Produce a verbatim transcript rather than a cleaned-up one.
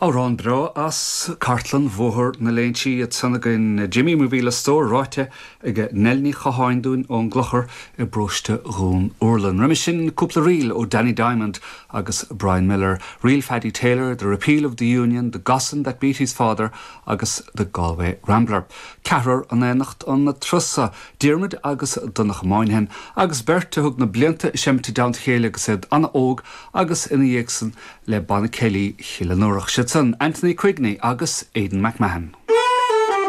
Amhrán breá as cartlann Bhóthar na Léinsí ansan againn Jimmy mo mhíle stór ráite ag Nell Ní Chatháin dúinn ón gClochar i bparóiste Dhún Úrlann. Roimhe sin cúpla ríl ó Danny Diamond agus Brian Miller, Ríl Phaddy Taylor, The Repeal of the Union, The Gossan That Beat His Father agus The Galway Rambler. Ceathrar in éineacht an turas seo, Diarmuid agus Donncha Moynihan, agus beirt a thug na blianta seimte down chéile agus iad an-óg agus ina dhiaidh san le Banna Céilí Chill an Iúrach. Siad san Anthony Quigney agus Aidan McMahon.